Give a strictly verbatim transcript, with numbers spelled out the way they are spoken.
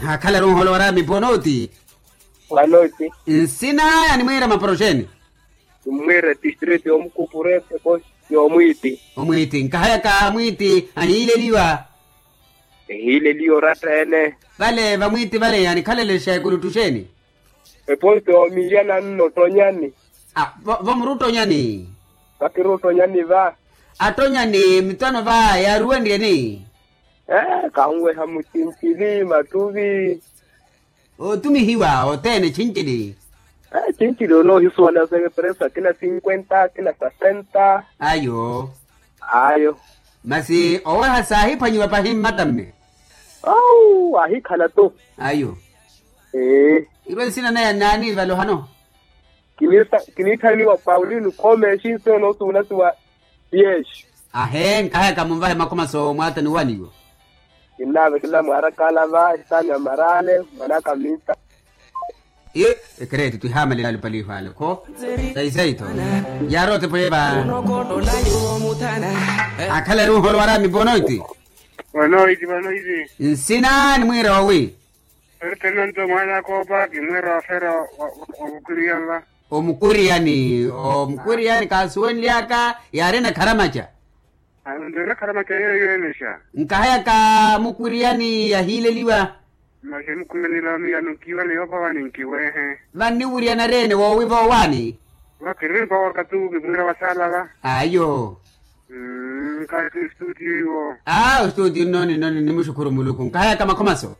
Akhalaru onholo waraami ponoti. Wanoti. Nsina animwiira maporoxeni? Nimwiira distrito yomukupurete ko. Yomwiiti. Omwiiti nkahayaka mwiiti ahiileliwa. Ehiileliwa oratta ene. Vale vamwiiti vale anikhalelexa ekuluttu xeeni? Eposto yomiliana nno ottonyani. Vo muruttonyani? Vakiruttonyani va. Attonyani mitano va yaaruwenryeni? Ee kahunweha mucincili mattuvi. Otumihiwa othene cincili. Cincili onoohisuwala sa epresu akina cinkwenta akina sasenta. Ayo. Ayo. Masi oweha saahiphwanyiwa pahi mmatamme. Awu aahikhala to. Ayo. Ee. Ivo nsina naya nnaani valohano? Kiniitthaniwa paulino khome exinso enoosuwula siwa. Yesu. Ahee nkahayaka munvahe makhomaso mwaata ni waniwo. Kinnaavekela mwaarakaala va esaani ya maraale mwanaka minta. Ii. Ekereeti twihaamalela alupaliho ale kho. Saisai tho. Yaarote pweya va. Akhala eri unholo waraami bonoiti. Bonoiti bonoiti. Nsina nimwiira owi? Eri tenonto mwaana akoopa kimwiira ofera. Omukwiriyani va. Omukwiriyani omukwiriyani kaasuwenly'aka. Yaarina kharamaca. Nto enakhala macayeeyo enexa. Nkahayaka mukwiriyani yahiileliwa. Masi mukwiriyani la miyano nkiiwale yoopawani nkiweehe. Vanniwiriyana reene woowiva owaani. Vakirempa wakatuku kimwiira wasaala va. Ayo. Nkahayaka estuutiyo iwo. Aa ostuutiyo nnooni nnooni nimuxukhuru muluku nkahayaka makhomaso.